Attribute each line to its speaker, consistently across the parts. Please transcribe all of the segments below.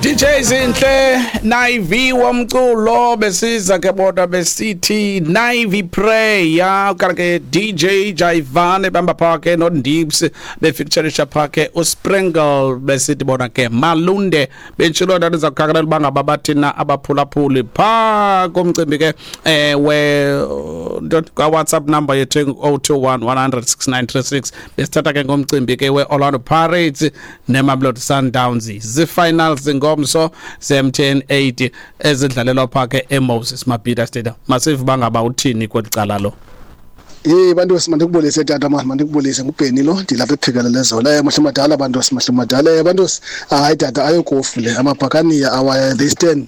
Speaker 1: DJ Zinhle Naivi womculo besiza ke bodwa besithi Naivi Prayer kanti ke DJ Jaivane bamba phake no Ndips befeatureisha phake uSprinkle besithi bona ke Malunde bentshilo nto ndiza kukhakalela uba ngaba bathina abaphulaphuli phaa komcimbi ke we kwa-WhatsApp number yethu engu-021 100 6936 besithatha ke ngomcimbi ke we-Orlando Pirates neMamelodi Sundowns, zii-finals ngomso ze-MTN 8 ezidlalelwa phaa ke eMoses Mabhida Stadium. Masive uba ngaba uthini kweli cala lo.
Speaker 2: Hey bantu, mandikubulise tata mani, mandikubulise. Ngubheni lo, ndilapha ePhikelele zona. Mahle madala bantu, mahle madala bantu. Hayi tata, ayokofu le amabhakaniya awa, they stand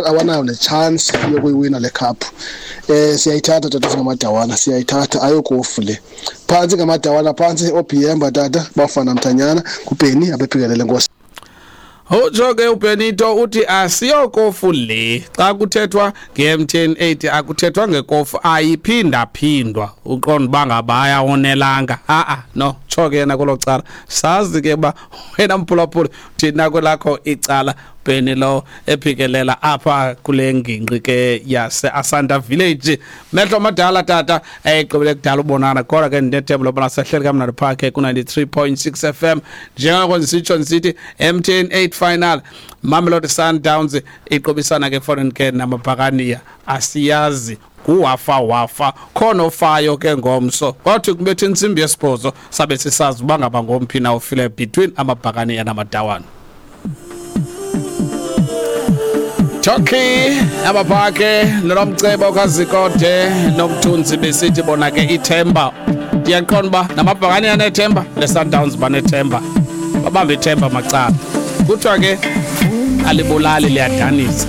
Speaker 2: awanayo ne-chance yokuyiwina le cup. Siyayithatha tata, singamadawana siyayithatha, ayokofu le. Phantsi ngamadawana, phantsi oBhiyemba tata, bafana mthanyana. Ngubheni abephikelele, nkosi.
Speaker 1: Utsho ke uBenito uthi asiyokofu le. Xa kuthethwa nge-MTN 8 akuthethwa ngekofu, ayiphindaphindwa, uqonda uba ngaba ayawonelanga. A-a no tsho ke yena kwelo cala, sazi ke uba wena mphulaphuli thina kwelakho icala. Bheni lo ephikelela apha kule ngingqi ke yase-Asanda Village. Mehlo madala tata, egqibele kudala ubonana, kodwa ke ndinethemba lobana sahleli kamnandi phaa ke ku-93.6 FM. Njengoko ndisitsho ndisithi MTN 8 final, Mamelodi Sundowns iqobisana ke foreign ke namabhakaniya, asiyazi nguwafa wafa khona ofayo ke ngomso. Kwathi kubetha intsimbi yesibhozo sabe sisazi uba ngaba ngomphi na ufile between amabhakaniya namadawana. Turkey abaphake nolomcebo kaZikode nomthunzi besithi bona ke ithemba. Ndiyaqonda uba namabhakane anethemba, le-Sundowns banethemba, babambe ithemba macala. Kuthiwa ke alibulali, liyadanisa.